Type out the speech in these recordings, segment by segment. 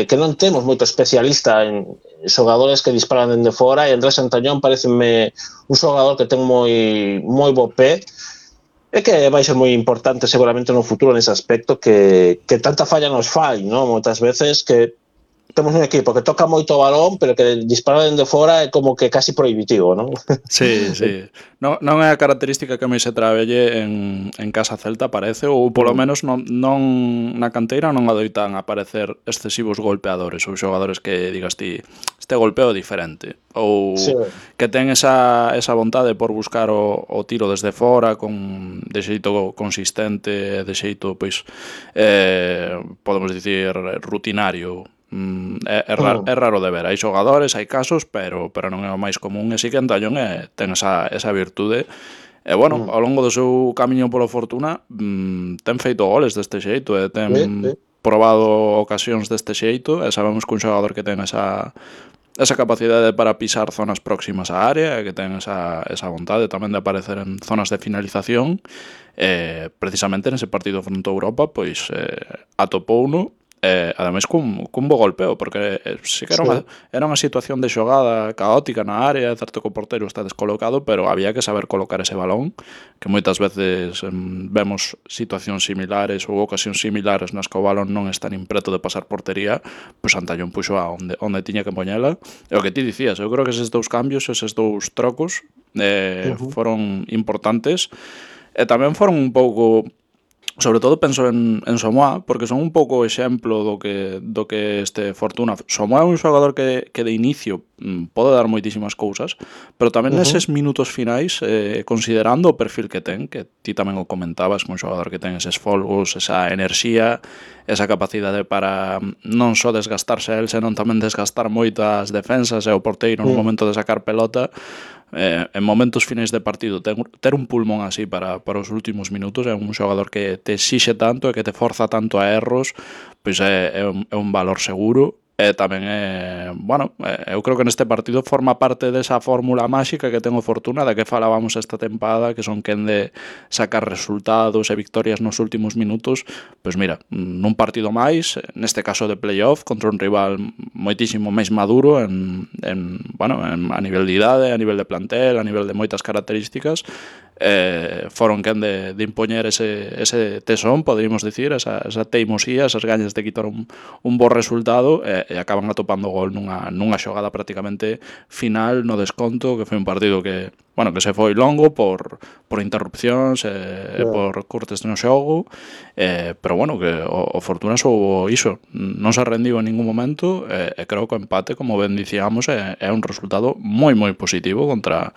que non temos moito especialista en xogadores que disparan dende fora, e Andrés Santañón pareceme un xogador que ten moi bo pé, e que vai ser moi importante seguramente no futuro nese aspecto, que tanta falla nos fai, non? Moitas veces que temos un equipo que toca moito o balón, pero que disparar dende fora é como que casi prohibitivo, non? Sí. Non é a característica que máis se trabelle en Casa Celta, parece, ou polo menos non na canteira non adoitan aparecer excesivos golpeadores ou xogadores que digas ti, este golpeo é diferente, ou que ten esa vontade por buscar o tiro desde fora de xeito consistente, de xeito, pois, podemos dicir, rutinario. É raro de ver. Hai xogadores, hai casos, pero non é o máis común, e si que Antañón ten esa virtude. E bueno, ao longo do seu camiño polo Fortuna ten feito goles deste xeito, e ten probado ocasións deste xeito, e sabemos que un xogador que ten esa capacidade para pisar zonas próximas á área, e que ten esa vontade tamén de aparecer en zonas de finalización, precisamente nese partido fronte a Europa, pois atopouno, ademais cun bo golpeo, porque sí que era unha situación de xogada caótica na área, certo que o porteiro está descolocado, pero había que saber colocar ese balón, que moitas veces vemos situacións similares ou ocasións similares nas que o balón non está nin preto de pasar portería, pois Antañón puxo onde tiña que poñela. E o que ti dicías, eu creo que eses dous cambios, eses dous trocos foron importantes, e tamén foron un pouco... Sobre todo penso en Somoa, porque son un pouco exemplo do que este Fortuna. Somoa é un xogador que de inicio pode dar moitísimas cousas, pero tamén neses minutos finais, considerando o perfil que ten, que ti tamén o comentabas, un xogador que ten eses folgos, esa enerxía, esa capacidade para non só desgastarse a él, senón tamén desgastar moito as defensas e o porteiro no momento de sacar pelota. En momentos finais de partido ter un pulmón así para os últimos minutos, é un xogador que te exixe tanto e que te forza tanto a erros, pois é un valor seguro. E tamén eu creo que neste partido forma parte desa fórmula máxica que ten o Fortuna, da que falábamos esta tempada, que son quen de sacar resultados e victorias nos últimos minutos. Pois mira, nun partido máis, neste caso de playoff, contra un rival moitísimo máis maduro a nivel de idade, a nivel de plantel, a nivel de moitas características, foron quen de impoñer ese tesón, poderíamos dicir, esa teimosía, esas gañas de quitar un bo resultado, e acaban atopando gol nunha xogada prácticamente final no desconto, que foi un partido que se foi longo por interrupcións e por cortes no xogo, pero que o Fortuna soubo iso, non se rendiu en ningún momento, e creo que o empate, como ben dicíamos, é un resultado moi positivo contra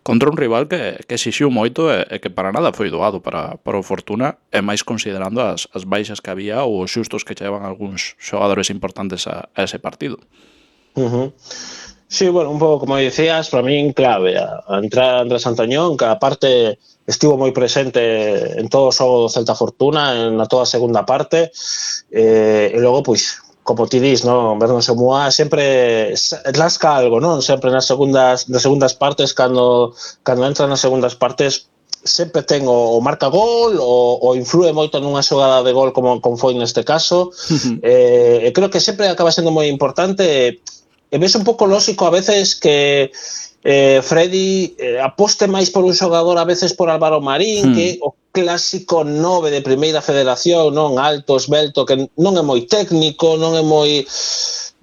un rival que exixiu moito e que para nada foi doado para o Fortuna, e máis considerando as baixas que había ou os xustos que chegaban algúns xogadores importantes a ese partido. Sí, un pouco como decías, para min clave a entrada Andrés Santañón, que aparte estivo moi presente en todo o xogo do Celta Fortuna, na toda a segunda parte, e logo, pois, como ti dis, non? Verno Somoa sempre lasca algo, non? Sempre nas segundas partes, cando entra nas segundas partes, sempre ten o marca gol ou influe moito nunha xogada de gol como foi neste caso. E creo que sempre acaba sendo moi importante, e ves un pouco lógico a veces que Freddy aposte máis por un xogador, a veces por Álvaro Marín, que o clásico 9 de primeira federación, non? Alto, esbelto, que non é moi técnico, non é moi...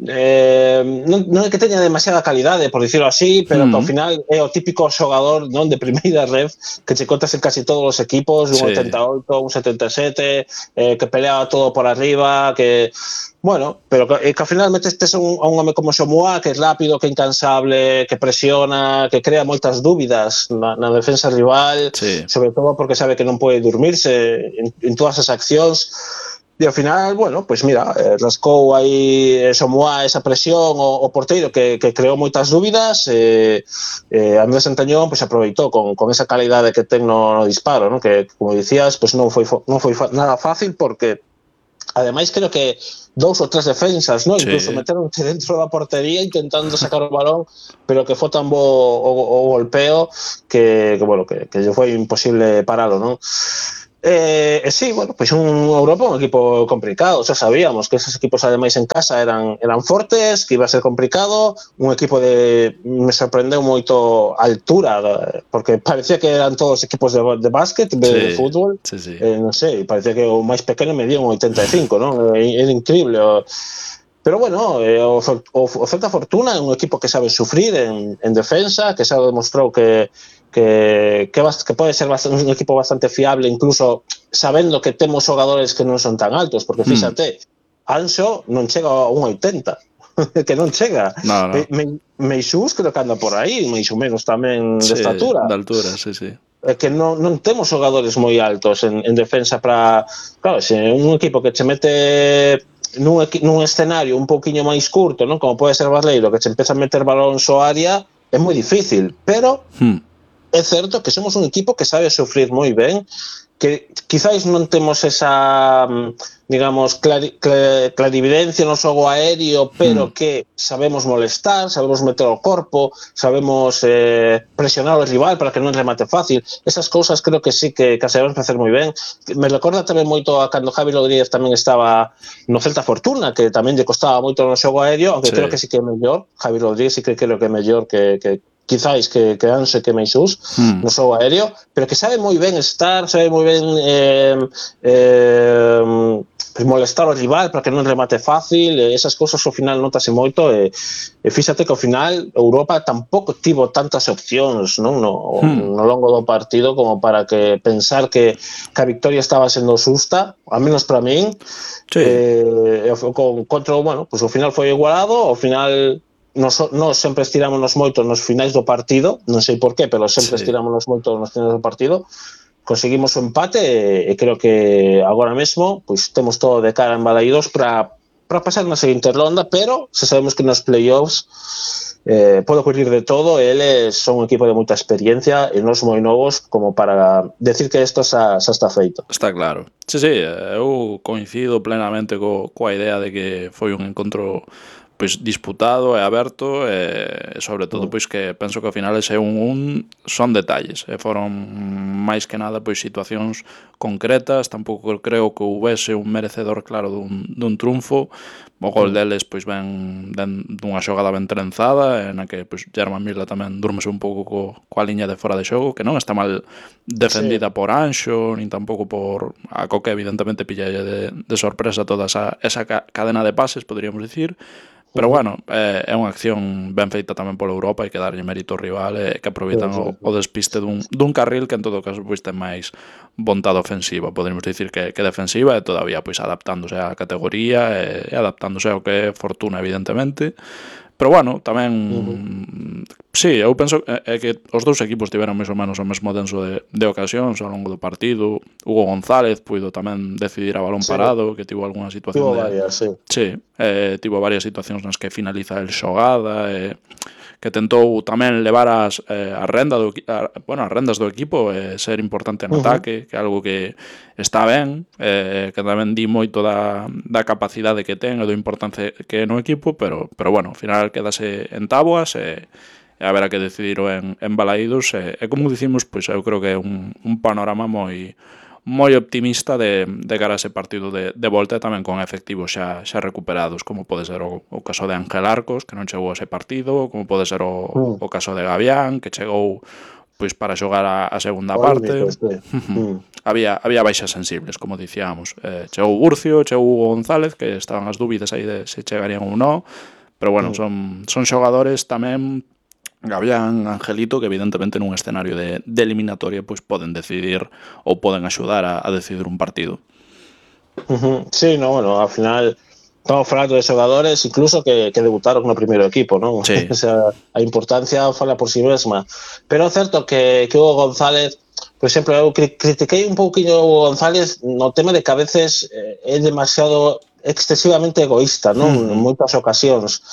non é que teña demasiada calidade, por dicirlo así, pero que ao final é o típico xogador, non, de primeira ref que che contas en casi todos os equipos, un 88, un 77, que pelea todo por arriba, que pero que ao final metestes a un home como Somoa, que é rápido, que é incansable, que presiona, que crea moitas dúbidas na defensa rival, sobre todo porque sabe que non pode dormirse en todas as accións. E ao final, pois mira, rascou aí Somoa esa presión o porteiro que creou moitas dúbidas, Andrés Santañón pois aproveitou con esa calidade que ten no disparo, non? Que, como dicías, pois non foi nada fácil, porque ademais creo que 2 ou 3 defensas, non? Incluso meteronse dentro da portería intentando sacar o balón, pero que foi tan bo o golpeo que lle foi imposible paralo, non? Sí, bueno, pois Europa un equipo complicado, xa sabíamos que esos equipos ademais en casa eran fortes, que iba a ser complicado, un equipo me sorprendeu moito a altura, porque parecía que eran todos equipos de básquet, de fútbol, sí. Non sei, parecía que o máis pequeno medía un 85, non? Era increíble, pero bueno, o Celta Fortuna é un equipo que sabe sufrir en defensa, que xa demostrou que pode ser un equipo bastante fiable, incluso sabendo que temos xogadores que non son tan altos, porque fíxate, Anxo non chega a 1,80, que non chega. No. Meixús creo que anda por aí, máis ou menos tamén de estatura. De altura, sí. Que non temos xogadores moi altos en defensa para... Claro, se un equipo que che mete nun escenario un pouquiño máis curto, non, como pode ser Barreiro, que che empeza a meter balóns ao área, é moi difícil, pero é certo que somos un equipo que sabe sufrir moi ben, que quizáis non temos esa, digamos, clarividencia no xogo aéreo, pero que sabemos molestar, sabemos meter o corpo, sabemos presionar o rival para que non remate fácil. Esas cousas creo que sí que sabemos facer moi ben. Me recorda tamén moito a cando Javi Rodríguez tamén estaba no Celta Fortuna, que tamén lle costaba moito no xogo aéreo, aunque creo que sí que é mellor. Javi Rodríguez sí que creo que é mellor que quizáis que Anse que Meixús no xogo aéreo, pero que sabe moi ben estar, sabe moi ben molestar o rival para que non remate fácil, esas cousas ao final notase moito, e fíxate que ao final Europa tampouco tivo tantas opcións, non, no longo do partido como para que pensar que a victoria estaba sendo xusta, ao menos para min. Contra, bueno, pues ao final foi igualado, ao final nos sempre estirámonos moito nos finais do partido, non sei por qué, pero sempre estirámonos moito nos finais do partido, conseguimos o empate e creo que agora mesmo pois temos todo de cara en Balaídos para pasar na seguinte ronda, pero se sabemos que nos playoffs pode ocurrir de todo, eles son un equipo de moita experiencia e nos moi novos como para decir que isto xa está feito. Está claro. Sí, eu coincido plenamente coa idea de que foi un encontro pois disputado e aberto, e sobre todo pois que penso que ao final ese son detalles, e foron máis que nada pois situacións concretas. Tampouco creo que houvese un merecedor claro dun triunfo. O gol deles pois ven dunha xogada ben trenzada, na que pois Germán Mirla tamén durmese un pouco coa liña de fora de xogo, que non está mal defendida por Anxo, nin tampouco por a Coque, evidentemente pillalle de sorpresa toda esa cadena de pases, poderíamos dicir. Pero bueno, é unha acción ben feita tamén pola Europa, hai que darlle mérito ao rival, que aproveitan o despiste dun carril que en todo caso pois ten máis vontade ofensiva, poderíamos dicir que defensiva, e todavía pois adaptándose á categoría e adaptándose ao que é Fortuna, evidentemente. Pero bueno, tamén sí, eu penso que os dous equipos tiveron máis ou menos o mesmo denso de ocasións ao longo do partido. Hugo González puido tamén decidir a balón parado, que tivo algunha situación tivo varias situacións nas que finaliza el xogada, que tentou tamén levar as rendas do equipo e ser importante no ataque, que é algo que está ben, que tamén di moito da capacidade que ten e do importante que é no equipo, pero bueno, ao final quedase en táboas e haberá que decidir en Balaídos, e como dicimos, pois eu creo que é un panorama moi optimista de cara a ese partido de volta, tamén con efectivos xa recuperados, como pode ser o caso de Ángel Arcos, que non chegou a ese partido, como pode ser o caso de Gavián, que chegou pois para xogar a segunda parte. Había baixas sensibles, como dicíamos. Chegou Burcio, chegou Hugo González, que estaban as dúbidas aí de se chegarían ou non, pero bueno, son xogadores tamén, Gavián, Angelito, que evidentemente nun escenario de eliminatoria pois poden decidir ou poden axudar a decidir un partido. Sí, bueno, ao final estamos falando de xogadores incluso que debutaron no primeiro equipo, non? Sí. O sea, a importancia fala por si mesma. Pero é certo que Hugo González, por exemplo, eu critiquei un pouquinho a Hugo González no tema de que a veces é demasiado excesivamente egoísta, non? En moitas ocasións.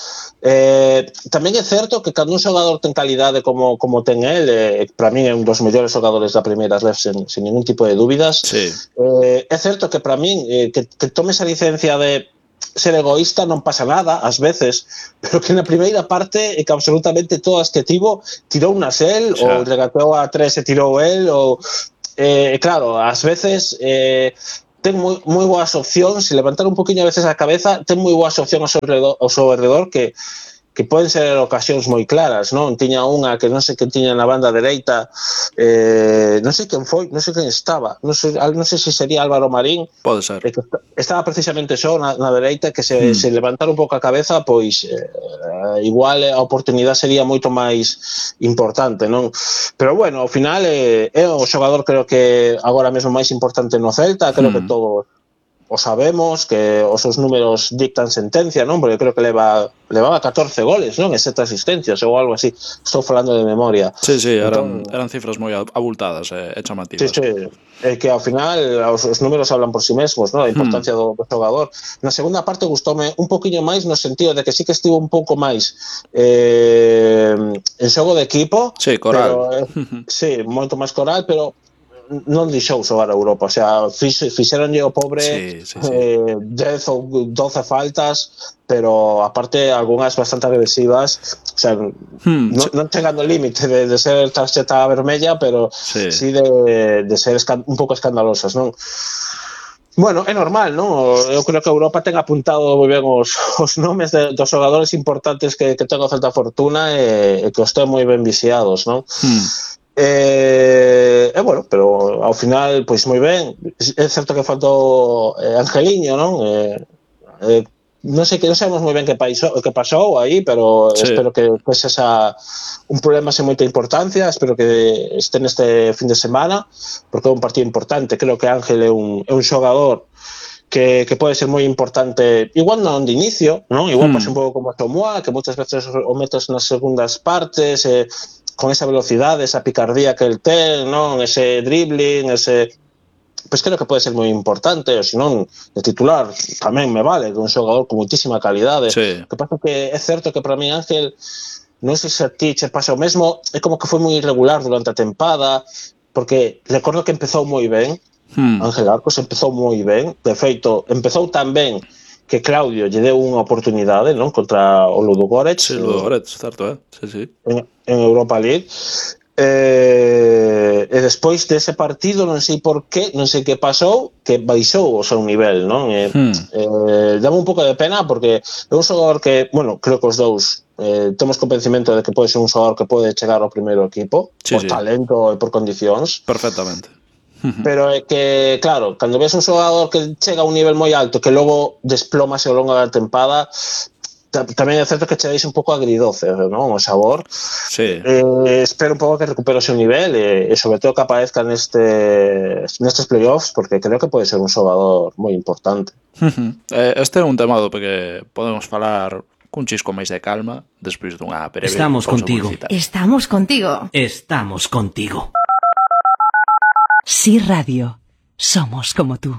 Tamén é certo que cando un xogador ten calidade como ten el, para min é un dos mellores xogadores da primeira ref sen ningún tipo de dúbidas. É certo que para min que tome esa licencia de ser egoísta non pasa nada, ás veces, pero que na primeira parte que absolutamente todas que tirou nas el, ou regateou a tres e tirou el, ou claro, ás veces ten moi boas opcións, se levantar un poquinho a veces a cabeza, ten moi boas opcións ao seu redor que poden ser ocasións moi claras, non? Tiña unha que non sei quen tiña na banda dereita, non sei quen foi, non sei quen estaba, non sei se sería Álvaro Marín. Pode ser. Que estaba precisamente só na dereita, que se levantara un pouco a cabeza, pois igual a oportunidade sería moito máis importante, non? Pero bueno, ao final é o xogador creo que agora mesmo máis importante no Celta, creo que todos o sabemos, que os seus números dictan sentencia, non? Porque creo que levaba 14 goles, non? E 7 asistencias ou algo así. Estou falando de memoria. Sí, eran cifras moi abultadas e chamativas. Sí. Que ao final os números hablan por si mesmos, non? A importancia do xogador. Na segunda parte gustoume un poquinho máis no sentido de que sí que estivo un pouco máis en xogo de equipo. Sí, coral. Sí, moito máis coral, pero non deixou xogar a Europa, o sea, fixeronlle o pobre 10 ou 12 faltas, pero aparte algunhas bastante agresivas, o sea, non chegando ao límite de ser tarxeta vermella, pero sí de ser un pouco escandalosas, non? Bueno, é normal, non? Eu creo que a Europa ten apuntado moi ben os nomes dos xogadores importantes que ten o Celta Fortuna e que os ten moi ben vixiados, non? Bueno, pero ao final, pois moi ben. É certo que faltou Angeliño, non? Non sei, non sabemos moi ben que pasou aí, pero espero que sexa un problema sen moita importancia. Espero que este neste fin de semana, porque é un partido importante. Creo que Ángel é un xogador que pode ser moi importante, igual non de inicio, non? Igual pasa un pouco como a Tomoa, que moitas veces o metes nas segundas partes, con esa velocidade, esa picardía que el ten, non? Ese dribbling, pois creo que pode ser moi importante, ou senón de titular tamén me vale, que un xogador con muitísima calidade. Que pasa que é certo que para mí Ángel, non sei se a ti che pasa o mesmo, é como que foi moi irregular durante a tempada, porque recordo que empezou moi ben, Ángel Arcos empezou moi ben, de feito, empezou tan ben que Claudio lle deu unha oportunidade, non? Contra o Ludogorets. Sí, Ludogorets, certo, sí. En Europa League. E despois dese partido, non sei por qué, non sei que pasou, que baixou o seu nivel, non? Dame un pouco de pena porque é un xogador que, bueno, creo que os dous temos convencimento de que pode ser un xogador que pode chegar ao primeiro equipo, por talento e por condicións. Perfectamente. Pero é que, claro, cando ves un xogador que chega a un nivel moi alto que logo desplomase ao longo da tempada, tamén é certo que che deixa un pouco agridoce, non? O sabor. Espero un pouco que recupere o seu nivel e sobre todo que aparezca nestes playoffs, porque creo que pode ser un xogador moi importante. Este é un tema do que podemos falar cun chisco máis de calma despois dunha breve pausa publicitaria. Estamos contigo. Estamos contigo. Sí Radio. Somos como tú.